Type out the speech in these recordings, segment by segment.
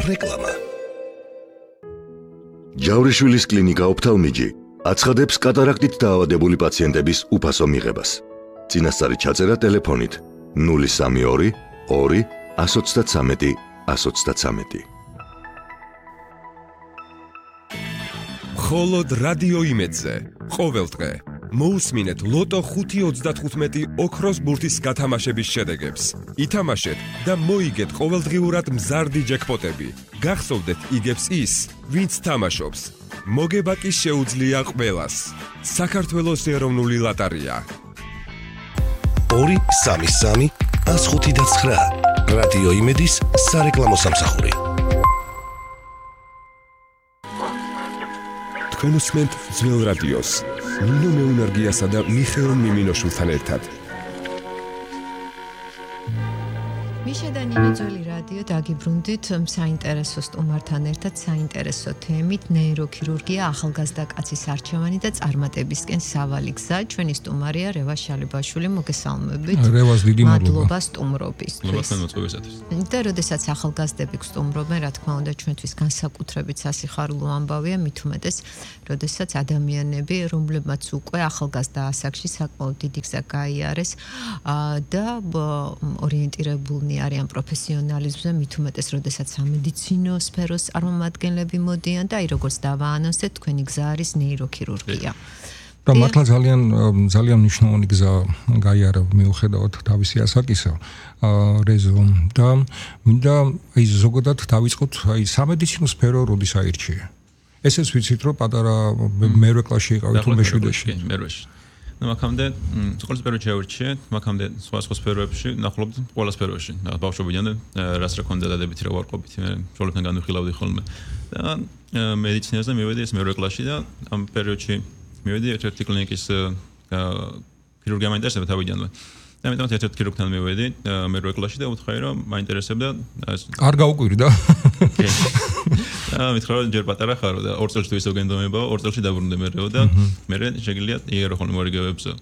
რეკლამა. ჯავრიშვილის კლინიკა ოფთალმიჯი აცხადებს კატარაქტით დაავადებული პაციენტების უფასო მიღებას. წინასწარი ჩაწერა ტელეფონით 032 2 133 133. მხოლოდ რადიო იმედზე ყოველდღე მოусმინეთ ლოტო 5.35 ოქროს ბურთის გათამაშების შედეგებს. ითამაშეთ და მოიგეთ ყოველდღიურად მზარდი ჯეკპოტები. გახსოვდეთ იგებს ის, ვინც თამაშობს. მოგება კი შეუძლია ყველას. საქართველოს ეროვნული ლოტარია. 233 159 რადიო იმედის სარეკლამო სამსახური. თქვენ უსმენთ ძველ რადიოს. ნინო მეუნარგიასა და მიხეილ მიმინოშვილთან ერთად. მიშა და ნინო ძველი რადიო დაგიბრუნდით საინტერესო სტუმართან ერთად საინტერესო თემით ნეიროქირურგია ახალგაზრდა კაცის არჩევანი და წარმატებისკენ სავალი გზა. ჩვენი სტუმარია რევას შალიბაშვილი. მოგესალმებით. რევას დიდი მადლობა სტუმრობისთვის. და როდესაც ახალგაზრდები გსტუმრობენ, რა თქმა უნდა, ჩვენთვის განსაკუთრებით სასიხარულო ამბავია, მით უმეტეს, როდესაც ადამიანები, რომლებმაც უკვე ახალგაზრდა ასაკში საკმაოდ დიდი გზა გაიარეს და ორიენტირებულნი არიან პროფესიონალიზმზე, მით უმეტეს, როდესაც სამედიცინო სფეროს წარმომადგენლები მოდიან და აი როგორც დავაანონსეთ, თქვენი გზა არის ნეიროქირურგია. და მართლა ძალიან მნიშვნელოვანი გზა გაიარა მიუხედავად თავისი ასაკისა რეზო და მინდა აი ზოგადად დავიწყოთ აი სამედიცინო სფერო როდის აირჩია. ესეც ვიცით რომ პატარა მერვე კლასში იყავით თუ მეშვიდეში. მერვეში. მაგამდე სკოლის პერიოდში ავირჩიე, მაგამდე სხვა სფეროებში ნახულობთ ყველა სფეროში. ბავშვობიდან რას რა ქონდა დადებითი რა ვარყოფით, მე შოლებთან განვიხილავდი ხოლმე. და მედიცინაზე მივედი ეს მერვე კლასში და ამ პერიოდში მივედი ერთ-ერთი კლინიკის ქირურგია მაინტერესებდა თავიდანვე. და ამიტომ ერთ-ერთი ქირურგთან მივედი მერვე კლასში და უთხრა რომ მაინტერესებდა არ გაუკვირდა. მითხრა რომ ჯერ პატარა ხარო და 2 წელში თუ ისევ გენდომებაო, 2 წელში დაბრუნდე მერეო და მე შეგიძლია იერო ხოლმე მორიგებებსო.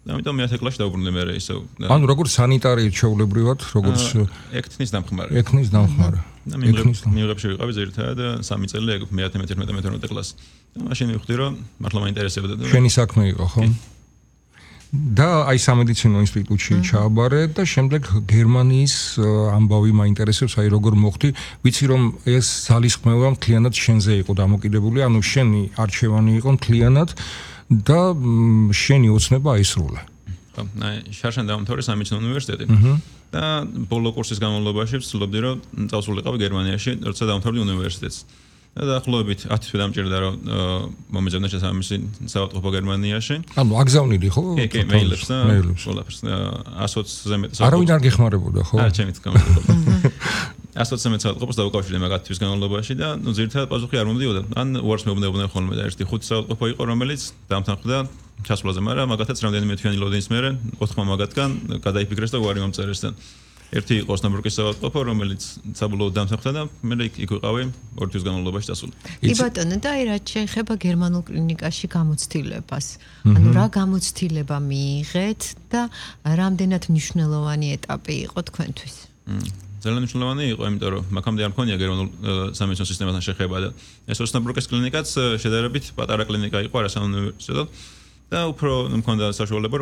და ამიტომ მე 10 კლასში დაბრუნდე მერე ისევ. ანუ როგორც სანიტარიით ჩაულებრივად, როგორც ექთნის დამხმარე. ექთნის დამხმარე. და მიღებში ვიყავი ზირთად 3 წელი მე 11-12 კლასს. და მაშინ მივხვდი რომ მართლა მაინტერესებდა და შენი საქმე იყო, ხო? და აი სამედიცინო ინსტიტუტში ჩააბარე და შემდეგ გერმანიის ამბავი მაინტერესებს, აი როგორ მოხდი, ვიცი რომ ეს ძალისხმევა მთლიანად შენზე იყო დამოკიდებული, ანუ შენი არჩევანი იყო მთლიანად და შენი ოცნება აისრულა. ხო, შარშან დაამთავრე სამედიცინო უნივერსიტეტი. და ბოლო კურსის განმავლობაში ვცდილობდი რომ წავსულიყავი გერმანიაში, როცა დაამთავრდი უნივერსიტეტს. და დაახლოებით 10 თვე დამჭირდა რომ მომეძებნა შესაბამისი საავადმყოფო გერმანიაში. ანუ აგზავნილი ხო? კი, მეილებს და ყველაფერს 120-ზე მეტ საავადმყოფოს. არავინ არ გეხმარებოდა, ხო? ჩემით გამოდიოდა. 120-ზე მეტ საავადმყოფოს დავუკავშირდი მაგ 10 თვის განმავლობაში და ნუ ძირითადად პასუხი არ მომდიოდა. ან უარს მეუბნებოდნენ ხოლმე და ერთი 5 საავადმყოფო იყო, რომელიც დამთანხმდა ჩასვლაზე, მაგრამ მაგათაც რამდენიმე თვიანი ლოდინის მერე 4 მაგათგან გადაიფიქრეს და უარი მომწერეს და ერთი იყო ოსნაბრუკის საავადმყოფო, რომელიც საბოლოოდ დამსახურდა და მე იქ ვიყავი 2 თვის განმავლობაში დასული. კი ბატონო, და აი რაც შეეხება გერმანულ კლინიკაში გამოცდილებას. ანუ რა გამოცდილება მიიღეთ და რამდენად მნიშვნელოვანი ეტაპი იყო თქვენთვის? ძალიან მნიშვნელოვანი იყო, იმიტომ რომ მაგამდე არ მქონია გერმანულ სამედიცინო სისტემასთან შეხება და ეს ოსნაბრუკის კლინიკაც შედარებით პატარა კლინიკა იყო არასაუნივერსიტეტო და უფრო მქონდა საშუალება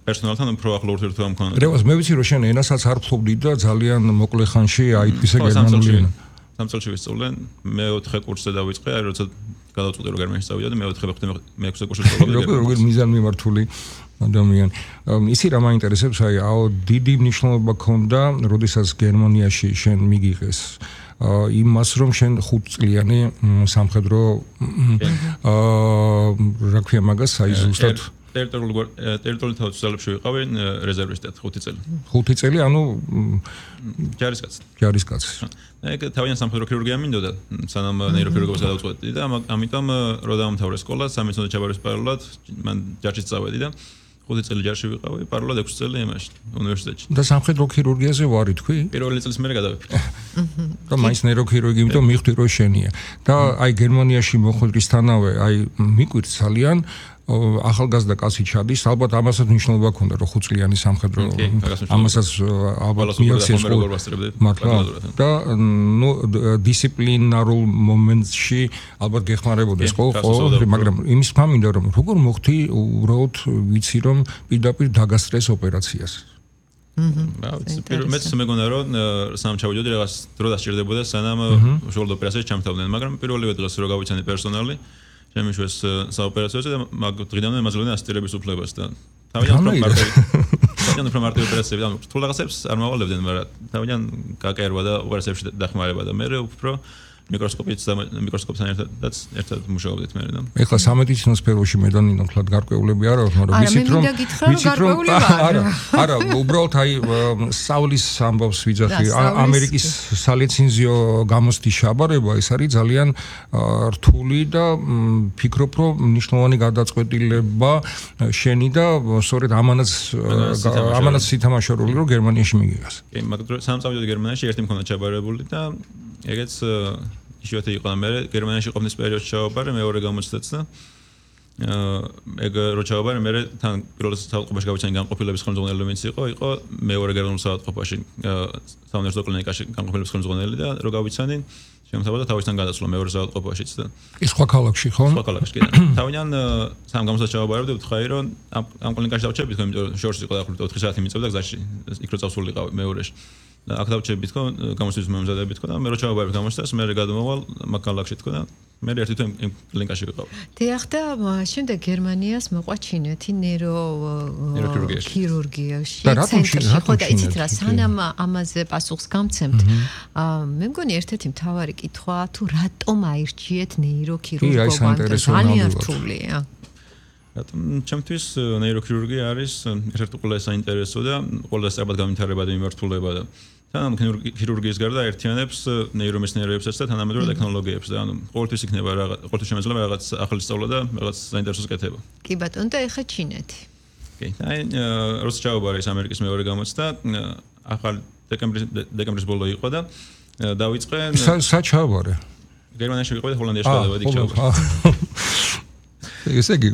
პერსონალთან უფრო ახლო ურთიერთობა მქონდა. რევას მე ვიცი რომ შენ ენასაც არ ფლობდი და ძალიან მოკლე ხანში აითვისე გერმანული ენა. 3 წელში ვისწავლე, მე-4 კურსზე დავიწყე, აი როცა გადავწყვიტე რომ გერმანიაში წავიდე, მე-4 ვახტე მე-6 კურსზე ვსწავლობდი. როგორ მიზანმიმართული ადამიანი. ისი რა მაინტერესებს, აი დიდი მნიშვნელობა ქონდა, როდესაც გერმანიაში შენ მიგიღეს იმას რომ შენ 5 წლიანი სამხედრო რა ქვია მაგას, აი ზუსტად ტერიტორიულ თავისუფლებში ვიყავი რეზერვისტად 5 წელი. 5 წელი, ანუ ჯარისკაცი. ჯარისკაცი. ეგ თავიანთი სამხედრო ქირურგია მინდოდა, სანამ ნეიროქირურგიას გადავწყვეტი და ამიტომ რო დავამთავრე სკოლა, სამედიცინო ჩაბარის პარალელად მან ჯარში წავედი და 5 წელი ჯარში ვიყავი, პარალელად 6 წელი იმაში, უნივერსიტეტში. და სამხედრო ქირურგიაზე ვარი თქვი? პირველი წლის მერე გადავიფიქრე. და მაინც ნეიროქირურგი, იმიტომ მიხვდი რომ შენია. და აი გერმანიაში მოხვედრისთანავე, აი მიკვირთ ძალიან ახალგაზრდა კაცი ჩადის, ალბათ ამასაც მნიშვნელობა ჰქონდა, რომ 5 წლიანი სამხედრო ამასაც ალბათ მიაქციეს მართლა და დისციპლინარულ მომენტში ალბათ გეხმარებოდეს ხო, მაგრამ იმის ფამინდა რომ როგორ მოხდი უბრალოდ ვიცი რომ პირდაპირ დაგასწრეს ოპერაციას. მეც მეგონა რომ სამ ჩავიდოდი რაღაც დრო დასჭირდებოდა სანამ უშუალოდ ოპერაციას ჩამთავდნენ, მაგრამ პირველივე დღეს რო გავიცანი პერსონალი შემიშვეს საოპერაციოზე და მაგ დღიდან ემაძლევდნენ ასისტირების უფლებას და თავიდან უფრო მარტივი ოპერაციები, ანუ რთულ რაღაცებს არ მავალებდნენ, მაგრამ თავიდან გაკერვა და ოპერაციებში დახმარება და მე უფრო მიკროსკოპთან ერთად მუშაობდით მე და ეხლა სამედიცინო სფეროში მე და ნინო თლად გარკვეულები არ აქვს, მაგრამ ვიცით რომ არა, უბრალოდ აი სწავლის ამბავს ვიძახი, ამერიკის სალიცენზიო გამოცდის ჩაბარება ეს არის ძალიან რთული და ფიქრობ რომ მნიშვნელოვანი გადაწყვეტილება შენი და სწორედ ამანაც სითამაშე როლი რომ გერმანიაში მიგიღას. კი, მაგრამ სამ წავიდოდი გერმანიაში, ერთი მქონდა ჩაბარებული და ეგეც ისევ იყო და მე გერმანიაში ყოფნის პერიოდში ჩავაბარე მეორე გამოცდაც და ეგ რო ჩავაბარე მე თან პირველ საავადმყოფოში გავიცანი განყოფილების ხელმძღვანელი რომელიც იყო მეორე გერმანულ საავადმყოფოში საუნივერსიტეტო კლინიკაში განყოფილების ხელმძღვანელი და რო გავიცანი შემოთავაზა თავისთან გადასვლა მეორე საავადმყოფოშიც და ის სხვა ქალაქში ხო? სხვა ქალაქში კი. თავიდან სამ გამოცდას ჩავაბარებდი ვთხარი რომ ამ კლინიკაში დავჩები თქო იმიტომ შორს იყო დაახლოებით 4 საათი მიწევდა გზაში იქ რო წავსულიყავი მეორეში. აქ დავჩები თქო გამოცდის მომზადები თქო და მე რო ჩავაბარებ გამოცდას მე გადმოვალ მაგალაკში თქო და მე ერთი თვე იმ კლინიკაში ვიყავ. დიახ და შემდეგ გერმანიას მოყვა ჩინეთი ნეიროქირურგიაში ცენტრში ხო და იცით რა სანამ ამაზე პასუხს გამცემთ მე მგონი ერთ-ერთი მთავარი კითხვა თუ რატომ აირჩიეთ ნეიროქირურგობა ძალიან რთულია. რატომ ჩემთვის ნეიროქირურგია არის ერთ-ერთი ყველაზე საინტერესო და ყველაზე სწრაფად განვითარებადი მიმართულება და თან ქირურგიის გარდა ერთიანებს ნეირომეცნიერებებსაც და თანამედროვე ტექნოლოგიებს და ანუ ყოველთვის იქნება ყოველთვის შემეძლება რაღაც ახალი სწავლა და რაღაც საინტერესოს კეთება. კი ბატონო და ეხა ჩინეთი. კი, აი როცა ჩავაბარე ამერიკის მეორე გამოცდა ახალ დეკემბრის ბოლო იყო და დავიწყე საჩავაბარე. გერმანიაში ვიყავი და ჰოლანდიაში გადავედი ჩავაბარე. ესე იგი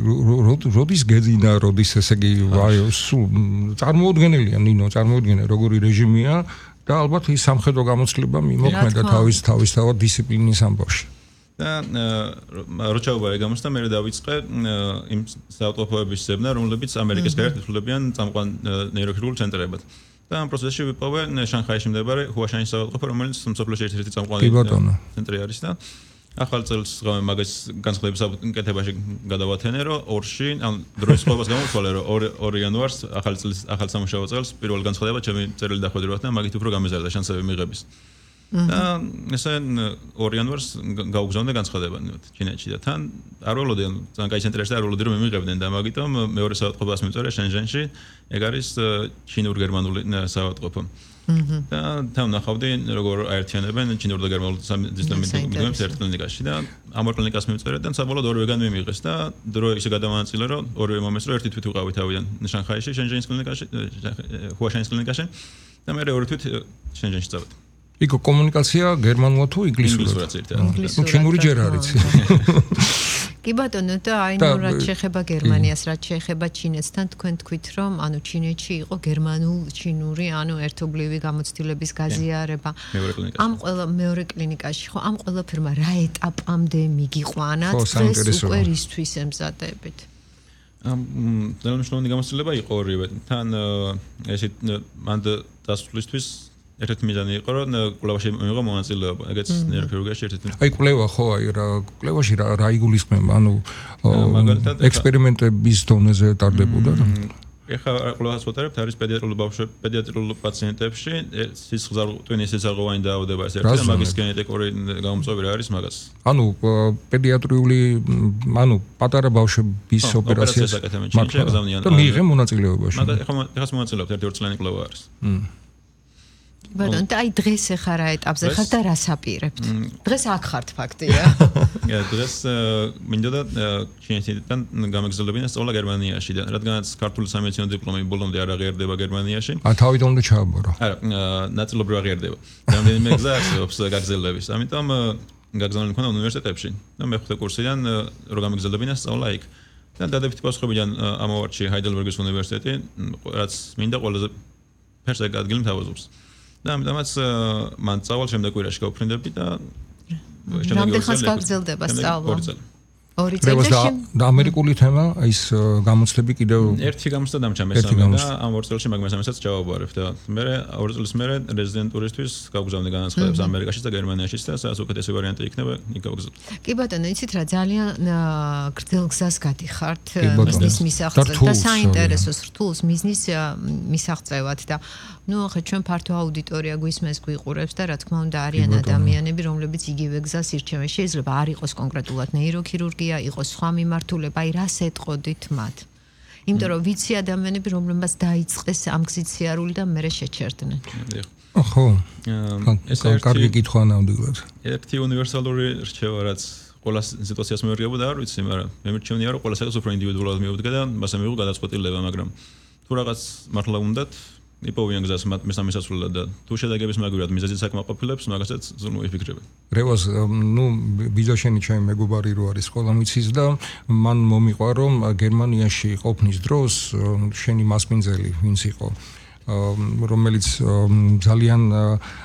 როდის გეძინა როდის ესე იგი აი სულ წარმოუდგენელია ნინო წარმოუდგენელი როგორი რეჟიმია და ალბათ ის სამხედრო გამოცდილება მიმოქმედა თავისთავად დისციპლინის ამბავში და რო ჩავაბარე გამოცდა მე დავიწყე იმ საავადმყოფოების ზებნა რომლებიც ამერიკის გარეთ ითვლებიან წამყვან ნეიროქირურგიულ ცენტრებად და ამ პროცესში ვიპოვე შანხაიში მდებარე ჰუაშანის საავადმყოფო რომელიც მსოფლიოში ერთ-ერთი წამყვანი ცენტრი არის და ახალ წელს მაგას განსხვავების კეთებაში გადავათენე რომ ორში ან დროის სხვაობას გამოვთვალე რომ 2 იანვარს ახალ სამუშაო წელს პირველ განსხვავება ჩემი წერილი დახვედრებათ და მაგით უფრო გამეზარდა შანსები მიღების და ესე 2 იანვარს გავგზავნე განსხვავება ჩინეთში და თან არ ველოდი ან ძალიან კაი ცენტრებში არ ველოდი რომ მიმიღებდნენ და მაგიტომ მეორე საავადმყოფოს მიწვერე შენჟენში ეგ არის ჩინურ-გერმანული საავადმყოფო და თან ნახავდი როგორ აერთიანებენ ჩინურ და გერმანულ სისტემებს ერთ კლინიკაში და ამ ორ კლინიკას მიმწერეთ და საბოლოოდ ორივეგან მიმიღეს და დრო ისე გადავანაწილე რომ ორივე მომეს რომ ერთი თვით ვიყავი თავიდან შანხაიში შენჟენის კლინიკაში ჰუაშანის კლინიკაში და მე ორი თვით შენჟენში წავედი. იქ კომუნიკაცია გერმანულად თუ ინგლისურად? ჩინური ჯერ არის. კი ბატონო და აი ნუ რაც შეეხება გერმანიას, რაც შეეხება ჩინეთთან, თქვენ თქვით რომ ანუ ჩინეთში იყო გერმანულ-ჩინური ანუ ერთობლივი გამოცდილების გაზიარება. ამ მეორე კლინიკაში ხო ამ ყველაფერმა რა ეტაპამდე მიგიყვანათ დღეს უკვე რისთვის ემზადებით? ძალიან მნიშვნელოვანი გამოცდილება იყო ორივე. თან ესეთ მანდ დასვლისთვის ერთ-ერთი მიზანი იყო რომ კვლევაში მიიღო მონაწილეობა. ეგეც ნეიროქირურგიაში ერთ-ერთი. აი კვლევა ხო აი რა კვლევაში რა იგულისხმება? ანუ ექსპერიმენტების დონეზე ტარდებოდა რა? ეხლა კვლევას ვატარებთ არის პედიატრიულ პაციენტებში სისხლძარღვი სისხლძარღვოვანი დაავადება ეს ერთი და მაგის გენეტიკური გამომწვევი რა არის მაგას. ანუ პედიატრიული ანუ პატარა ბავშვების ოპერაციას მართლა და მიიღე მონაწილეობაში. ეხლა მონაწილეობთ ერთი 2 წლიანი კვლევა არის. ბატონო, და აი დღეს ახლა რა ეტაპზე ხართ და რას აპირებთ? დღეს აქ ხართ ფაქტია. დღეს მინდოდა ჩინეთიდან გამეგზავნებინა სწავლა გერმანიაში და რადგანაც ქართული სამედიცინო დიპლომი ბოლომდე არ აღიარდება გერმანიაში. თავიდან უნდა ჩააბარო. არა, ნაწილობრივ აღიარდება. რამდენიმე გზა აქვს გაგზავნების. ამიტომ გაგზავნილი მქონდა უნივერსიტეტებში და მეხუთე კურსიდან რო გამეგზავნებინა სწავლა იქ. და დადებითი პასუხებიდან ამოვარჩი ჰაიდელბერგის უნივერსიტეტი, რაც მინდა ყველაზე ფერსად ადგილი მთავაზობს. და ამიტომაც მან წავალ შემდეგ კვირაში გავფრინდები და რამდენ ხანს გაგრძელდება სწავლა? 2 წელში და ამერიკული თემა ის გამოცდები კიდევ ერთი გამოცდა დამჭა მესამე და ამ 2 წელში მაგ მესამესაც ჩავაბარებ და მე 2 წელს მერე რეზიდენტურისთვის გავგზავნე განაცხადებს ამერიკაშიც და გერმანიაშიც და სადაც უკეთესი ვარიანტი იქნება იქ გავგზავნე. კი ბატონო, იცით რა ძალიან გრძელ გზას გადიხართ მიზნის მისაღწევად და საინტერესოს რთულს მიზნის მისაღწევად და ნუ ახლა ჩვენ ფართო აუდიტორია გვისმენს გვიყურებს და რა თქმა უნდა არიან ადამიანები რომლებიც იგივე გზას ირჩევენ. შეიძლება არ იყოს კონკრეტულად ნეიროქირურგია, იყოს სხვა მიმართულება, აი რას ეტყოდით მათ? იმიტომ რომ ვიცი ადამიანები რომლებსაც დაიწყეს ამ გზით სიარული და მერე შეჩერდნენ. ხო. ეს კარგი კითხვა ნამდვილად. ერთი უნივერსალური რჩევა რაც ყველა სიტუაციას მერგებოდა არ ვიცი, მაგრამ მე მერჩევნია რომ ყველა საკითხს უფრო ინდივიდუალურად მიუდგა და მასე მიიღო გადაწყვეტილება, მაგრამ თუ რაღაც მართლა უნდათ იპოვიან გზას მესამე სასულელად და თუ შედეგების მაგვირად მიზეზით საკმაყოფილებს, მაგასაც ზრუნვა იფიქრებენ. რევას, ნუ ბიზაშენი ჩემი მეგობარი რო არის ყველა მიცის და მან მომიყვა რომ გერმანიაში ყოფნის დროს შენი მასპინძელი ვინც იყო რომელიც ძალიან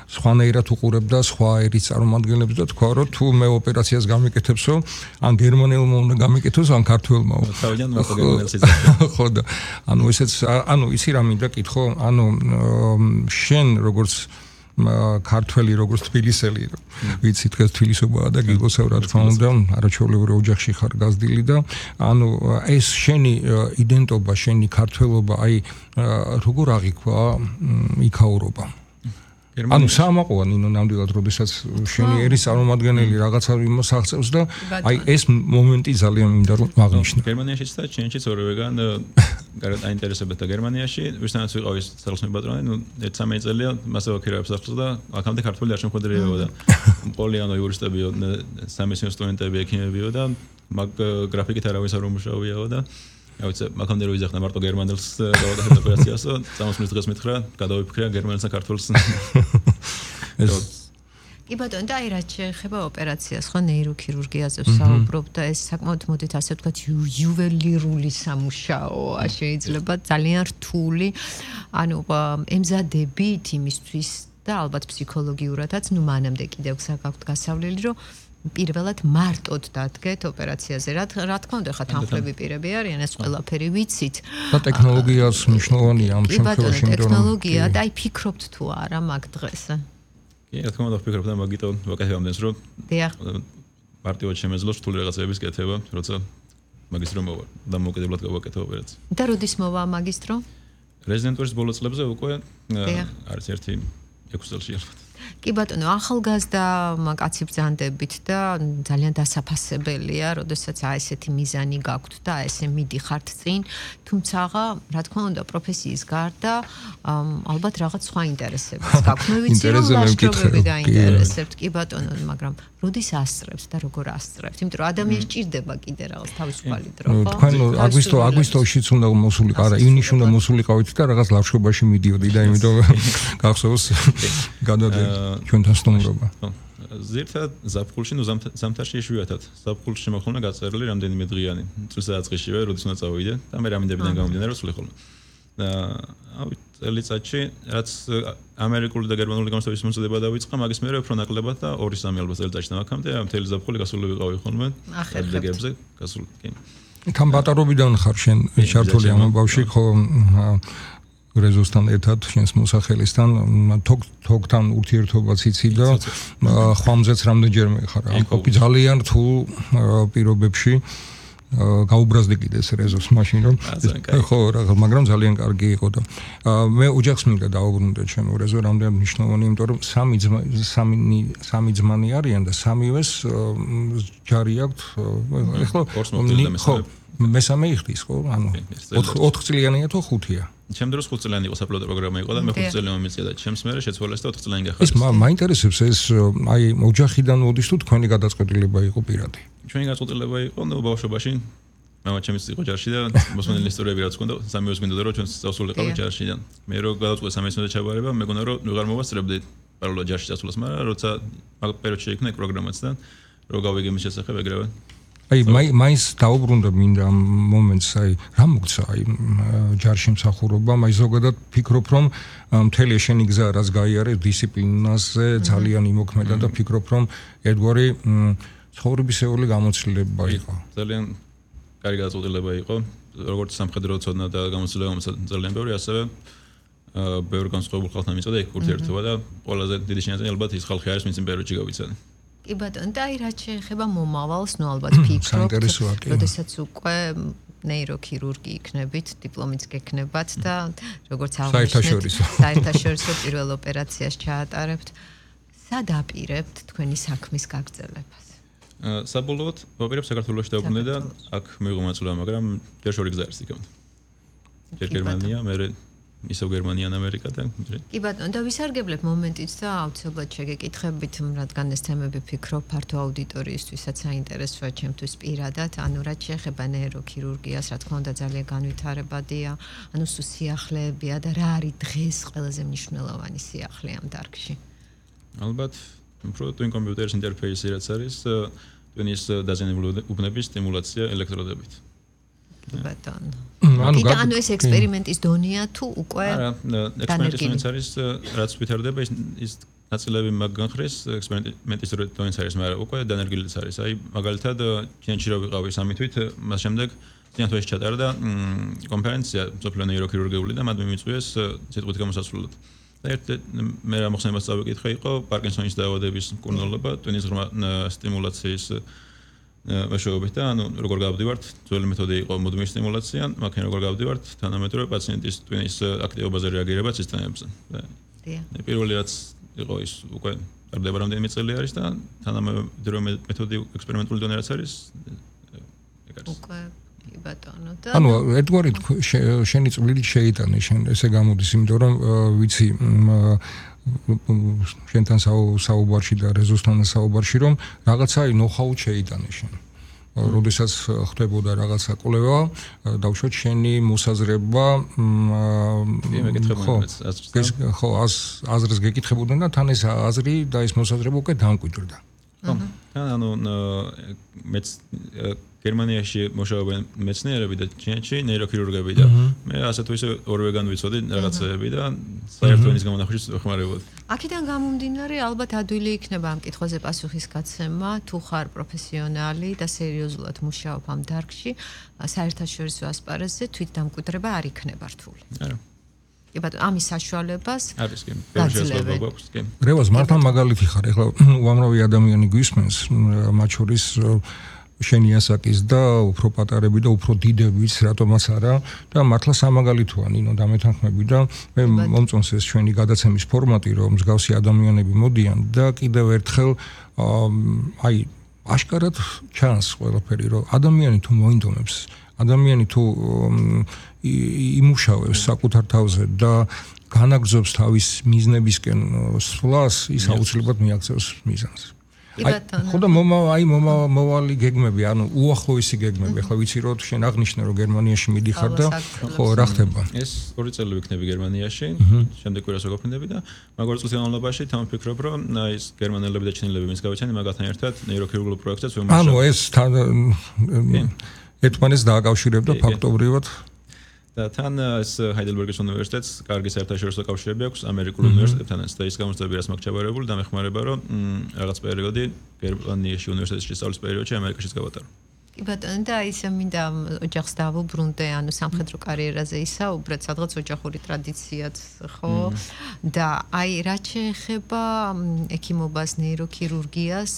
სხვანაირად უყურებდა სხვა ერის წარმომადგენლებს და თქვა რომ თუ მე ოპერაციას გამიკეთებსო, ან გერმანელმა უნდა გამიკეთოს, ან ქართველმა. თავიდან მარტო გერმანელს იძლევა. ხო და ანუ ესეც ანუ იცი რა მინდა კითხო, ანუ შენ როგორც ქართველი როგორც თბილისელი ვიცი დღეს თბილისობაა და გიგოსავ რა თქმა უნდა არაჩვეულებრივ ოჯახში ხარ გაზრდილი და ანუ ეს შენი იდენტობა შენი ქართველობა აი როგორ აღიქვა იქაურობა ანუ სამაყოა ნინო ნამდვილად როდესაც შენი ერის წარმომადგენელი რაღაცა იმოსაღწევს და აი ეს მომენტი ძალიან მინდა რომ აღნიშნო გერმანიაშიც და ჩინეთშიც ორივეგან გარეთ აინტერესებდა გერმანიაში ვისთანაც ვიყავი სახელმწიფო პატრონი ნუ 1-3 წელია მასე ვაქირავებს ახლა და აქამდე ქართული არ შემოხვედრიებოდა და პოლიანო იურისტებიო სამეცნიერო სტუდენტები ექიმებიო და მაგ გრაფიკით არავის არ უმუშავიაო და აუცე მაგამდე რო იზახნა მარტო გერმანელს გავაკეთე ოპერაციასო წამოსვლის დღეს მითხრა გადავიფიქრა გერმანელსა ქართულს კი ბატონო და აი რაც შეეხება ოპერაციას ხო ნეიროქირურგიაზე ვსაუბრობ და ეს საკმაოდ მოდით ასე ვთქვათ იუველირული სამუშაოა შეიძლება ძალიან რთული ანუ ემზადებით იმისთვის და ალბათ ფსიქოლოგიურადაც ნუ მანამდე კიდევ საერთოდ გასავლელი რომ პირველად მარტოდ დადგეთ ოპერაციაზე რა თქმა უნდა ხა თანხლები პირები არიან ეს ყველაფერი ვიცით და ტექნოლოგიაც მნიშვნელოვანია ამ შემთხვევაში ტექნოლოგია და აი ფიქრობთ თუ არა მაგ დღეს კი რა თქმა უნდა ვფიქრობ და მაგიტო ვაკეთებ ამდენს რომ დიახ პარტიულად შემეძლოს რთული რაღაცების კეთება როცა მაგისტრო მოვა და მოკედებლად გავაკეთე ოპერაცია და როდის მოვა მაგისტრო რეზიდენტურის ბოლო წლებზე უკვე არის ერთი 6 წელში კი ბატონო, ახალგაზრდა კაცი ბრძანდებით და ძალიან დასაფასებელია, როდესაც ესეთი მიზანი გაქვთ და ესე მიდიხართ წინ, თუმცა რა თქმა უნდა, პროფესიის გარდა ალბათ რაღაც სხვა ინტერესებიც გაქვთ. მე ვიცი რომ ლაშქრობები დაინტერესებთ, კი ბატონო, მაგრამ როდის ასწრებთ და როგორ ასწრებთ? იმიტომ რომ ადამიანს ჭირდება კიდე რაღაც თავისუფალი დრო, ხო? თქვენ აგვისტოშიც უნდა მოსულიყო, არა, ივნისში უნდა მოსულიყავით და რაღაც ლაშქრობაში მიდიოდი და იმიტომ გახსოვს გადადე ჩვენთან სტუმრობა. ზირთად ზაფხულში ნუ ზამთარში იშვიათად. ზაფხულში შემოხლნა გაწერილი რამდენიმე დღიანი. წელიწადშივე როდის უნდა წავიდე და მე რამინდებიდან გამომდინარე რომ სულიხოლმე. და ავით წელიწადში რაც ამერიკული და გერმანული გამოცდების მოწოდება დავიწყა, მაგის მერე უფრო ნაკლებად და 2-3 ალბათ წელიწადში დამაკამდე მთელი ზაფხული გასული ვიყავი ხოლმე. ადებებზე გასული. კი. თან ბატარობიდან ხარ შენ ჩართული ამ ბავში ხო რეზოსთან ერთად შენს მოსახელისთან თოგთან ურთიერთობაც იცი და ხვამზეც რამდენჯერმე ხარ ამ კოპი ძალიან რთულ პირობებში გაუბრაზდი კიდე ეს რეზოს მაშინ რომ ხო მაგრამ ძალიან კარგი იყო და მე ოჯახს მინდა დაუბრუნდე ჩემო რეზო რამდენად მნიშვნელოვანი იმიტომ რომ სამი ძმანი არიან და სამივეს ჯარი აქვთ ეხლა ხო მესამე იხდის ხო ანუ 4 წლიანია თუ 5-ია ჩემ დროს 5 წლიანი იყო საპილოტო პროგრამა იყო და მე 5 წელი მომიწია და ჩემს მერე შეცვალეს და 4 წლიანი გახარეს. ეს მაინტერესებს ეს აი ოჯახიდან მოდის თუ თქვენი გადაწყვეტილება იყო პირადი. ჩვენი გადაწყვეტილება იყო ნუ ბავშვობაში მამა ჩემს იყო ჯარში და მოსმენელი ისტორიები რაც ჰქონდა სამივეს მინდოდა რომ ჩვენ წავსულიყავით ჯარშიდან. მე რო გადაწყვეტე სამეცნიერო ჩაბარება მეგონა რომ ვეღარ მოვასწრებდი პარალელურად ჯარში წასვლას, მაგრამ როცა მაგ პერიოდში იქნა პროგრამაც და რო გავიგე მის შესახებ ეგრევე აი მაინც დაუბრუნდა მინდა ამ მომენტს, აი რა მოგცა აი ჯარში მსახურობამ, აი ზოგადად ფიქრობ რომ მთელი შენი გზა რაც გაიარე დისციპლინაზე ძალიან იმოქმედა და ფიქრობ რომ ერთგვარი ცხოვრებისეული გამოცდილება იყო. ძალიან კარგი გადაწყვეტილება იყო, როგორც სამხედრო ცოდნა და გამოცდილება ძალიან ბევრი, ასევე ბევრი განსხვავებულ ხალხთან მიწოდა იქ ურთიერთობა და ყველაზე დიდი შენაძენი ალბათ ის ხალხი არის, ვინც იმ პერიოდში გავიცადი. კი ბატონო, და აი რაც შეეხება მომავალს, ნუ ალბათ ფიქრობთ, როდესაც უკვე ნეიროქირურგი იქნებით, დიპლომიც გექნებათ და როგორც საერთაშორისო საერთაშორისო პირველ ოპერაციას ჩაატარებთ, სად აპირებთ თქვენი საქმის გაგრძელებას? საბოლოოდ ვაპირებ საქართველოში დავბრუნდე და აქ მივიღო მონაწილეობა, მაგრამ ჯერ შორი გზა არის იქამდე. ჯერ გერმანია, მე ისევ გერმანია, ამერიკა და კი ბატონო, და ვისარგებლებ მომენტით და აუცილებლად შეგეკითხებით, რადგან ეს თემები ფიქრობ ფართო აუდიტორიისთვისაც საინტერესოა ჩემთვის პირადად, ანუ რაც შეეხება ნეიროქირურგიას, რა თქმა უნდა ძალიან განვითარებადია, ანუ სიახლეებია და რა არის დღეს ყველაზე მნიშვნელოვანი სიახლე ამ დარგში? ალბათ, უფრო twin computers interface-ი რაც არის, ტვინის დაზიანებული უბნების სტიმულაცია ელექტროდებით. ბატონო. ანუ ეს ექსპერიმენტის დონეა თუ უკვე ექსპერიმენტის არის რაც ვითარდება ის ნაწილები მაგანხრის ექსპერიმენტის დონეც არის, მაგრამ უკვე დანერგილიც არის. აი მაგალითად ჩინეთში რა ვიყავი 3 თვით, მას შემდეგ წინათვეში ჩატარდა კონფერენცია სოფლიო ნეიროქირურგიული და მათ მიმიწვიეს სიტყვით გამოსასრულებლად. და მე რა მოხსენებას წავიკითხე იყო პარკინსონის დაავადების მკურნალობა, ტვინის ღრმა სტიმულაციის მეშვეობით და ანუ როგორ გავდივართ, ძველი მეთოდი იყო მუდმივი სტიმულაცია, მაგრამ როგორ გავდივართ თანამედროვე პაციენტის ტვინის აქტივობაზე რეაგირება სისტემებზე. და პირველი რაც იყო ის უკვე ტარდება რამდენიმე წელი არის და თანამედროვე მეთოდი ექსპერიმენტული დონე რაც არის ეგ არის. უკვე კი ბატონო და ანუ ერთგვარი შენი წვლილი შეიტანე შენ ესე გამოდის, იმიტომ რომ ვიცი შენთან საუბარში და რეზოსთან საუბარში რომ რაღაცა ნოუ-ჰაუ შეიტანე შენ. როდესაც ხდებოდა რაღაცა კვლევა, დავუშვათ შენი მოსაზრება, ხო, აზრს გეკითხებოდნენ და თან ეს აზრი და ეს მოსაზრება უკვე დამკვიდრდა. თან ანუ მეც გერმანიაში მუშაობენ მეცნიერები და ჩინეთში ნეიროქირურგები და მე ასე თუ ისე ორივე განვიცოდი რაღაცეები და საერთო ენის გამონახვისში ვეხმარებოდი. აქედან გამომდინარე ალბათ ადვილი იქნება ამ კითხვაზე პასუხის გაცემა, თუ ხარ პროფესიონალი და სერიოზულად მუშაობ ამ დარგში, საერთაშორისო ასპარეზზე თვით დამკვიდრება არ იქნება რთული. არა. კი ბატონო, ამის საშუალებას არის კი. შეიძლება გვაქვს კი. რევას მართლა მაგალითი ხარ, ეხლა უამრავი ადამიანი გვისმენს, მათ შორის შენი ასაკის და უფრო პატარები და უფრო დიდებიც, რატომაც არა და მართლა სამაგალითოა ნინო დამეთანხმები და მე მომწონს ეს ჩვენი გადაცემის ფორმატი, რომ მსგავსი ადამიანები მოდიან და კიდევ ერთხელ აი აშკარად ჩანს ყველაფერი, რომ ადამიანი თუ მოინდომებს, ადამიანი თუ იმუშავებს საკუთარ თავზე და განაგრძობს თავის მიზნებისკენ სვლას, ის აუცილებლად მიაღწევს მიზანს. ხოდა მომავალი გეგმები, ანუ უახლოესი გეგმები, ახლა ვიცი რომ შენ აღნიშნე რომ გერმანიაში მიდიხარ და ხო რა ხდება? ეს 2 წელი ვიქნები გერმანიაში, შემდეგ კვირას ვაგაფრინდები და მაგარ წლის განმავლობაში თან ვფიქრობ რომ ის გერმანელები და ჩინელები ვინც გავიცანი მაგათთან ერთად ნეიროქირურგიულ პროექტებს ვიმუშავებ. ანუ ეს ერთმანეთს დააკავშირებ და ფაქტობრივად და თან ეს ჰაიდელბერგის უნივერსიტეტს კარგი საერთაშორისო კავშირები აქვს ამერიკულ უნივერსიტეტებთანაც და ის გამოსწორები რაც მაქვს ჩაბარებული და მეხმარება რომ რაღაც პერიოდი გერმანიაში უნივერსიტეტში სწავლის პერიოდში ამერიკაშიც გავატარო. კი ბატონო, და ისე მინდა ოჯახს დავუბრუნდე, ანუ სამხედრო კარიერაზე ისაუბრეთ, სადღაც ოჯახური ტრადიციაც ხო? და აი რაც შეეხება ექიმობას, ნეიროქირურგიას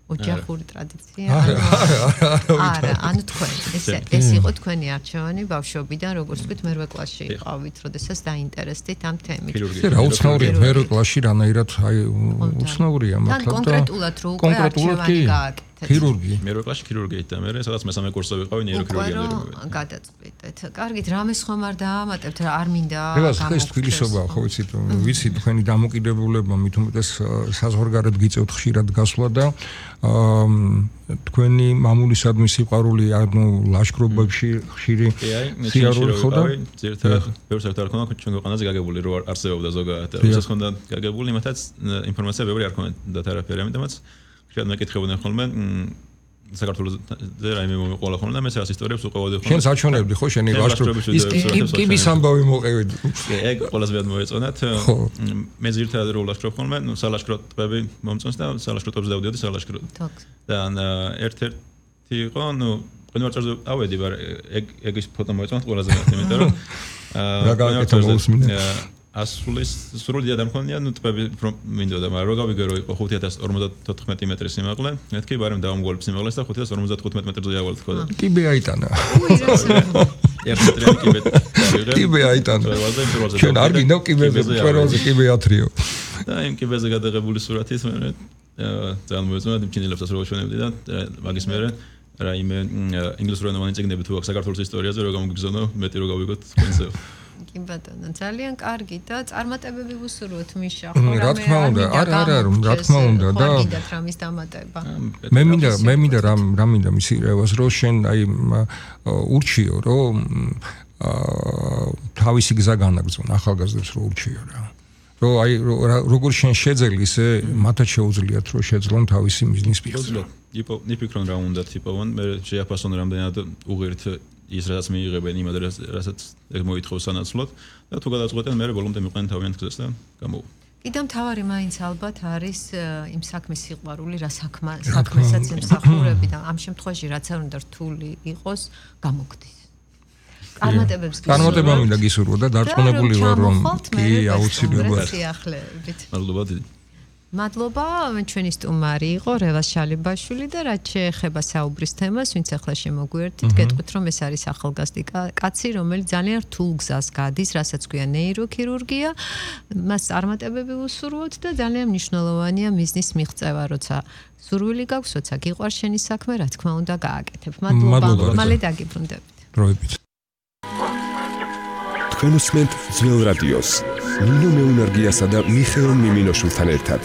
ოჯახური ტრადიცია? არა, ანუ თქვენ ეს იყო თქვენი არჩევანი ბავშვობიდან, როგორც თქვით, მერვე კლასში იყავით, როდესაც დაინტერესდით ამ თემით. რა უცნაურია მერვე კლასში რანაირად აი უცნაურია მართლა და კონკრეტულად რო უკვე არჩევანი გააკეთეთ. ქირურგი. მერვე კლასში ქირურგიით და მე სადაც მესამე კურსზე ვიყავი ნეიროქირურგიაზე. გადაწყვეტეთ. კარგით, რამეს ხომ არ დაამატებთ, რა არ მინდა გამოგხდეს. ეს თბილისობაა, ხო ვიცით, თქვენი დამოკიდებულება მით უმეტეს საზღვარგარეთ გიწევთ ხშირად გასვლა და თქვენი მამულისადმი სიყვარული ანუ ლაშქრობებში ხშირი სიარული ხო და ზერთად ბევრს არ ქონდა ჩვენ ქვეყანაზე გაგებული რო არსებობდა ზოგადად როდესაც ხონდა გაგებული იმათაც ინფორმაცია ბევრი არ ქონდა არაფერი ამიტომაც ხშირად მეკითხებოდნენ ხოლმე საქართველოსზე რაიმე მომიყოლა ხოლმე და მე ეს ისტორიებს უყევოდი ხოლმე. შენ საჩვენებდი ხო შენი ლაშქრობის ის კიბის ამბავი მოყევდი. ეგ ყველაზე მეტ მოეწონათ. მე ზირთად რო ლაშქრობ ხოლმე, ნუ სალაშქრო ტბები მომწონს და სალაშქრო ტბებზე დავდიოდი სალაშქრო. და ერთ-ერთი იყო, ნუ კონვერტზე ავედი, მაგრამ ეგ ის ფოტო მოეწონათ ყველაზე მეტ, იმიტომ რომ რა გავაკეთე მოусმინე. ასულის სრული ადამქონია, ნუ ტბები მინდოდა, მაგრამ რო გავიგე რომ იყო 5054 მეტრი სიმაღლე, მეთქი ბარემ დავამგვალებ სიმაღლეს და 5055 მეტრზე ავალ თქო და კიბე აიტანა. კიბე აიტანა. ჩვენ არ გინდა კიბეზე, წეროზე კიბე ათრიო. და იმ კიბეზე გადაღებული სურათის მე ძალიან მოეწონა, იმჩინელებსაც რო ჩვენებდი და მაგის მერე რაიმე ინგლისურენოვანი წიგნები თუ აქვს საქართველოს ისტორიაზე, რო გამოგიგზავნო, მეტი რო გავიგოთ თქვენზე. კი ბატონო, ძალიან კარგი და წარმატებები ვუსურვოთ მიშა, ხო რა თქმა უნდა, არა, რა თქმა უნდა და გიდათ რამის დამატება. მე მინდა რა მინდა მისი რევას რო შენ აი ურჩიო რომ თავისი გზა განაგზავნ ახალგაზრდებს რო ურჩიო რა. რო აი როგორ შენ შეძელი ისე მათაც შეუძლიათ რომ შეძლონ თავისი მიზნის მიღწევა. იფიქრონ რა უნდა თიპოვან, მე შეაფასონ რამდენად უღირთ ის რაც მიიღებენ იმ ადრეს რასაც ეგ მოითხოვს სანაცვლოდ და თუ გადაწყვეტენ მე ბოლომდე მიყვნენ თავიანთ გზას და გამოვა. კიდევ მთავარი მაინც ალბათ არის იმ საქმის სიყვარული, რა საქმესაც ემსახურები და ამ შემთხვევაში რაც არ უნდა რთული იყოს, გამოგდის. წარმატება მინდა გისურვო და დარწმუნებული ვარ რომ კი აუცილებლად. მადლობა დიდი. მადლობა, ჩვენი სტუმარი იყო რევას შალიბაშვილი და რაც შეეხება საუბრის თემას, ვინც ახლა შემოგვიერთით, გეტყვით რომ ეს არის ახალგაზრდი კაცი, რომელიც ძალიან რთულ გზას გადის, რასაც ქვია ნეიროქირურგია, მას წარმატებები ვუსურვოთ და ძალიან მნიშვნელოვანია მიზნის მიღწევა, როცა სურვილი გაქვს, როცა გიყვარს შენი საქმე, რა თქმა უნდა, გააკეთებ. მადლობა, მალე დაგიბრუნდებით. დროებით. თქვენ უსმენთ ძველ რადიოს, ნინო მეუნარგიასა და მიხეილ მიმინოშვილთან ერთად.